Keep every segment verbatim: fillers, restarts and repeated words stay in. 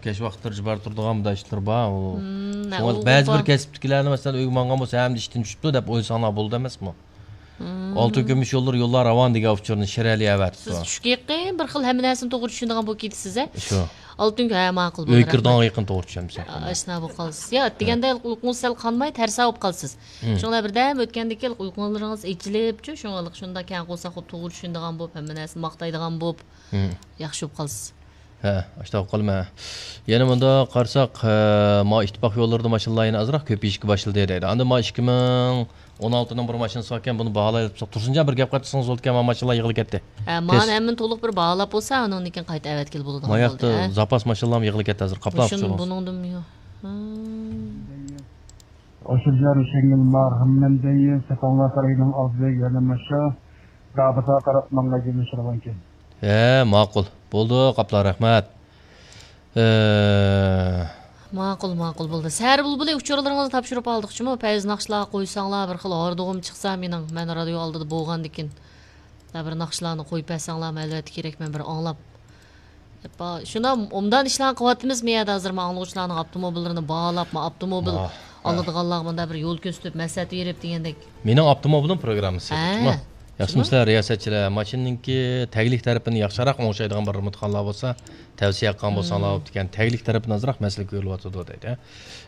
ياش ۋاقىتلىرى جىبار تۇرىدىغان مۇنداق ئىشلار بار. ئۇ، مم، شۇڭا ئۇ بەزى بىر بار. كەسىپتىكىلەرنى، مەسىلەن، ئۆيگە ماڭغان بولسا، ھەممە ئىشتىن چۈشۈپتۇ دەپ ئويلىساڭلار بولىدۇ ئەمەسمۇ؟ مم. ئالتۇن كۈمۈش يوللىرى، يوللار راۋان دېگەن ئۇچۇرنى شىرئەلى ئەۋەتىپتۇ. سىز چۈشكە يېقىن بىر خىل ھەممە نەرسىنى توغرا چۈشىنىدىغان بولۇپ كېتىسىز، ھە؟ شۇ. ئالتۇن كۈ-، ھە، ماقۇل، ئۆي بولدى، كىرىدىغانغا رەھمەت. يېقىن توغرا چۈشەنمىسەك. ئاشۇنداق بولۇپ قالىسىز. يا، دېگەندە ئۇيقۇڭىز سەل قانماي، تەرسا بولۇپ قالىسىز. مم. شۇڭا بىردەم ئۆتكەندىن كېيىن ئۇيقۇڭلىرىڭىز ئېچىلىپچۇ، شۇڭا شۇنداق كەڭ قورساق بولۇپ، توغرا چۈشىنىدىغان بولۇپ، ھەممە نەرسىنى ماختايدىغان بولۇپ، مم. ياخشى بولۇپ قالىسىز. ھە، ئاشۇنداق بولۇپ قالىمەن. يەنە مۇنداق قارىساق، ھە، ما ئىتتىپاق يوللىرىدا ماشىنىلار يەنە ئازراق كۆپىيىشكە باشلىدى دەيدۇ. ئاندىن ما ئىككى مىڭ ئون ئالتىنىڭ بىر ماشىنىسى باركەن، بۇنى باھالايلى دېسەك، تۇرسۇنجان بىر گەپ قىلىپ تۇرسىڭىز بولىدىكەن، ما ماشىنىلار يىغىلىپ كەتتى. ھە، مانا ھەممىنى تولۇق بىر باھالاپ بولسا، ئۇنىڭدىن كېيىن قايتا ئەۋەتكىلى بولىدىغان ما ياقتا بولدى، ھە؟ زاپاس ماشىنىلارمۇ يىغىلىپ كەتتى ھازىر، قاپلاپ مۇشۇنى تۇرسىڭىز. بۇنىڭدىنمۇ يو-، ھە. ئاشۇرجان روشەنگۈل مارھەممەندىن سەپەڭلار سارىيىنىڭ ئالدىدا يەنە ماشا دابىسىغا قاراپ ماڭغان يۆنىلىش راۋانكەن. ھە، ماقۇل. بولدى، قاپلا، رەھمەت. ھە. ماقۇل، ماقۇل، بولدى. سەھەر بۇلبۇلى ئۇچۇرلىرىڭىزنى تاپشۇرۇپ ئالدۇق جۇمۇ. پەيز ناخشىلارغا قويساڭلار، بىر خىل ھاردۇغۇم چىقسا مېنىڭ، مەن رادىيو ئالدىدا بولغاندىكىن. بىر ناخشىلارنى قويۇپ بەرسەڭلارمۇ، ئەلۋەتتە كېرەك، مەن بىر ئاڭلاپ. شۇنداق ئوبدان ئىشلارنى قىلىۋاتىمىز، مەيەردە ھازىر ما ئاڭلىغۇچىلارنىڭ ئاپتوموبىللىرىنى باھالاپ، ما ئاپتوموبىل ۋاھ، ۋاھ. ئالىدىغانلارغا مۇنداق بىر يول كۆرسىتىپ، مەسلىھەت بېرىپ دېگەندەك. مېنىڭ ئاپتوموبىلىم پروگراممىسى. ھە. شۇنداقمۇ؟ ياخشىمۇ شۇنداق. سىلەر رىياسەتچىلەر؟ ماشىنىنىڭكى تەگلىك تەرىپىنى ياخشىراق ئوڭشايدىغان بىر رېمونتخانىلار بولسا، تەۋسىيە قىلغان بولساڭلار مم. بوپتىكەن. تەگلىك تەرىپىنى ئازراق مەسىلە كۆرۈلۈۋاتىدۇ دەيدۇ.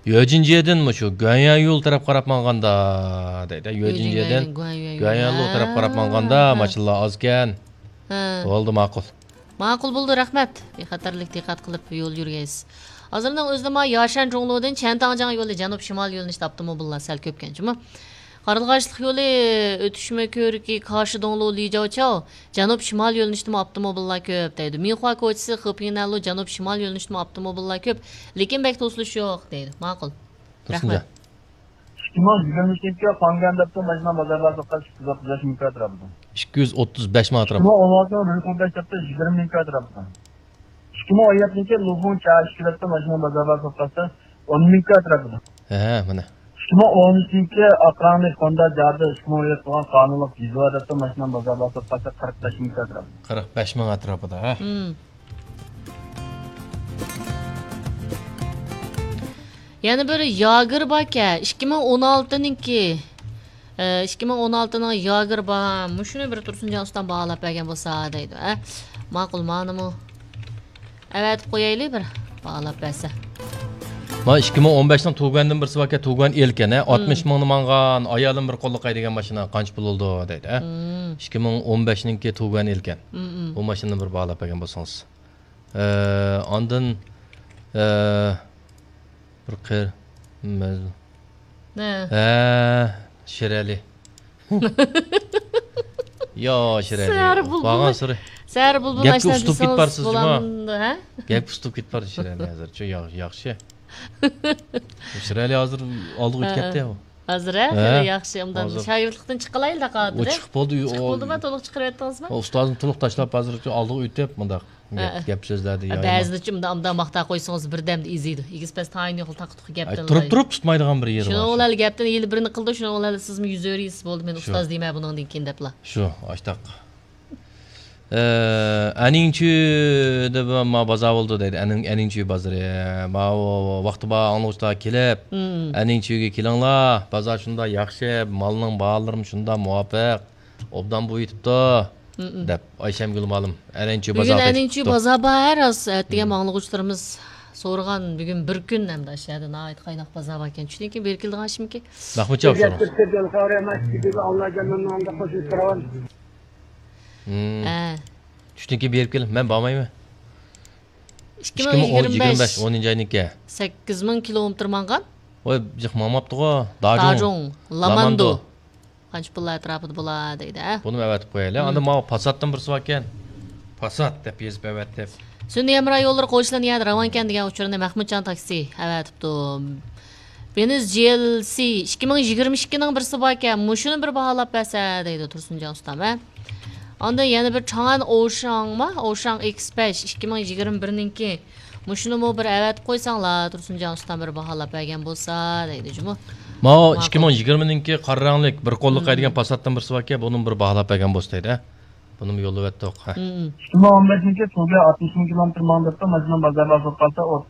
يۆجىنجيېدىن مۇشۇ گۇەنيەن يول تەرەپ قاراپ ماڭغاندا دەيدۇ. يۆجىنجيېدىن گۇەنيەن يول تەرەپ قاراپ ماڭغاندا ھە. ماشىنىلار ئازكەن. ھە. بولدى، ماقۇل. ماقۇل بولدى، رەھمەت. بىخەتەرلىك دىققەت قىلىپ يول يۈرگەيسىز. ھازىرنىڭ ئۆزىدە ما ياشەن جۇڭلۇدىن چيەنتاڭجياڭ يولى جەنۇب شىمال يۆنىلىشتە ئاپتوموبىللار سەل كۆپكەن جۇمۇ. قارلىغاچلىق يولى ئۆتۈشمە كۆۋرۈكى كاشىدوڭلۇ لىجاۋچاۋ جەنۇب شىمال يۆنىلىشتىمۇ ئاپتوموبىللار كۆپ دەيدۇ. مىنخۇا كوچىسى خېپىڭنەنلۇ جەنۇب شىمال يۆنىلىشتىمۇ ئاپتوموبىللار كۆپ، لېكىن بەك توسۇلۇش يوق دەيدۇ. ماقۇل. رەھمەت. ئىككى مىڭ يىگىرمە ئۈچىنچى يىلى پاڭگەن دەپتۇ ماشىنا بازار باھاسى ئوتتۇز بەش مىڭ كاترا بولدى. ئىككى يۈز ئوتتۇز بەش مىڭ ئەتراپىدا. ئىككى مىڭ ئون ئالتىنچى يىلى يىگىرمە مىڭ كاترا بولدى. ئىككى مىڭ ئون يەتتىنچى يىلى لۇفۇڭ چاشى دەپتۇ ماشىنا بازار باھاسى ئوتتۇز بەش مىڭ كاترا بولدى. ھە، مانا. ئىككى مىڭ ئون ئۈچىنچى يىلى ئاقراڭنى خوندا جادە ئىككى مىڭ ئون يەتتە بولغان قانۇنلۇق يېزا دەپتۇ ماشىنا بازار باھاسى ئوتتۇز بەش مىڭ كاترا بولدى. قىرىق بەش مىڭ ئەتراپىدا، ھە؟ مم. يەنە بىر ياگېر باركەن، ئىككى مىڭ ئون ئالتىنىڭكى. ئە، ئىككى مىڭ ئون ئالتىنىڭ ياگېر بار. مۇشۇنى بىر تۇرسۇنجان ئۇستام باھالاپ بەرگەن بولسا دەيدۇ، ھە. ماقۇل، مانىمۇ ئەۋەتىپ قويايلى بىر باھالاپ بەرسە. ما ئىككى مىڭ ئون بەشنىڭ تۇگەندىن بىرسى باركەن، تۇگەن ئېلكەن، ھە. ئاتمىش مىڭنى ماڭغان، ئايالىم بىر قوللۇق ھەيدىگەن ماشىنا قانچە پۇل بولىدۇ دەيدۇ، ھە. مم. ئىككى مىڭ ئون بەشنىڭكى تۇگەن ئېلكەن. مم، مم. بۇ ماشىنىنى بىر باھالاپ بەرگەن بولسىڭىز. ئە، ئاندىن، ئە، بىر قېر-، مەز-، ھە. ھە، شىرئەلى. يا، شىرئەلى. سەھەر بۇلبۇلى. بارغانسېرى سەھەر بۇلبۇلى گەپكە ئۇسلۇپ كېتىپ بارسىز جۇما. ھە؟ گەپكە ئۇسلۇپ كېتىپ بارسىز شىرئەلى ھازىر. شۇ يا-، ياخشى. شىرئەلى ھازىر ئالدىغا ئۆتۈپ ھە، كەتتى ھە. يا. ھازىر ھە، ھە؟ خېلى ياخشى، ئۇنداق ھازىر. شاگىرتلىقتىن چىققىلايلا قالدى. ئۇ چىقىپ بولدى، چىقىپ ئۇ بولدىما؟ تولۇق چىقىرىۋەتتىڭىزمۇ؟ ئۇستازنى تولۇق تاشلاپ، ھازىر ئالدىغا ئۆتۈپ، مۇنداق ھە، گەپ، ھە. گەپ سۆزلەردە ھە، يا، بەزىدە چۇ-، مۇنداق، مۇنداق ماختاپ قويسىڭىز، بىردەمدە ئېزىيدۇ. ئېگىز پەس تايىنى يوق، تاقا تۇقى ئەي، گەپتىن تۇرۇپ، تۇرۇپ تۇتمايدىغان بىر يېرى بار شۇنىڭ شۇ. بىلەن گەپتىن يىل بىرنى قىلىدۇ، شۇنىڭ بىلەن سىزمۇ يۈزۈۋېرىسىز، بولدى، مەن شۇ. ئۇستاز دەيمەن بۇنىڭدىن كېيىن دەپلا. شۇ، ئاشتاق. ئە، ئەنىڭچۈ دەپ ما بازار بولىدۇ دەيدۇ. ئەنىڭ-، ئەنىڭچۈ بازىرى. ما ۋاقتى بار ئاڭلىغۇچىلار كېلىپ، مم. ئەنىڭچۈگە كېلىڭلار. بازار شۇنداق ياخشى، مالنىڭ باھالىرىمۇ شۇنداق مۇۋاپىق. ئوبدان بويىتىپتۇ، مم. دەپ ئايشەمگۈل مۇئەللىم ئەنىڭچۈ بۈگۈن بازارغا ئەنىڭچۈ كېتىپتۇ. بازار بار، راست. ئەتىگەن مم. ئاڭلىغۇچىلىرىمىز سورىغان، بۈگۈن بىر كۈن ئەمدى ئاشۇ يەردە ناھايىتى قايناق بازار باركەن. چۈشتىن كېيىن بېرىپ كېلىدىغان ئىشمىكىن؟ مەخمۇتجان سورىغان. مم. ھە. چۈشتىن كېيىن بېرىپ كېلىڭ، مەن بارمايمەن. ئىككى مىڭ يىگىرمە بەش، ئىككى مىڭ يىگىرمە بەش، ئونىنچى ئاينىڭكى. سەككىز مىڭ كىلومېتىر ماڭغان. ۋاي، جىق ماڭماپتىغۇ. داجۇڭ. داجۇڭ، لاماندۇ. لاماندۇ. قانچە پۇللار ئەتراپىدا بولا دەيدۇ، ھە؟ بۇنىمۇ ئەۋەتىپ قويايلى. مم. ئاندىن ماۋۇ پاساتتىن بىرسى باركەن. پاسات دەپ يېزىپ ئەۋەتتىم. سۈنئىي ھەمراھ يوللىرى قوشۇلىدىغان يەردە راۋانكەن دېگەن ئۇچۇرنى مەخمۇتجان تاكسى ئەۋەتىپتۇ. ۋېنىز جي ئېل سى ئىككى مىڭ يىگىرمە ئىككىنىڭ بىرسى باركەن، مۇشۇنى بىر باھالاپ بەرسە دەيدۇ تۇرسۇنجان ئۇستام، ھە؟ ئاندىن يەنە بىر چاڭئەن ئوشاڭما؟ ئوشاڭ ئېكسپرېس ئىككى مىڭ يىگىرمە بىرنىڭكى. مۇشۇنىمۇ بىر ئەۋەتىپ قويساڭلار، تۇرسۇنجان ئۇستام بىر باھالاپ بەرگەن بولسا دەيدۇ جۇمۇ. ماۋۇ ماقۇل. ئىككى مىڭ يىگىرمىنىڭكى قارا رەڭلىك بىر قوللۇق مم. ھەيدىگەن پاساتتىن بىرسى باركەن، بۇنىمۇ بىر باھالاپ بەرگەن بولسا دەيدۇ، ھە؟ بۇنىمۇ يوللىۋەتتۇق، ھە. مم. ئىككى مىڭ ئون بەشىنچى تۇگە ئاتمىش مىڭ كىلومېتىر ماڭدۇرۇپتۇ، ماشىنا بازار باھاسى قالسا ئوتتۇز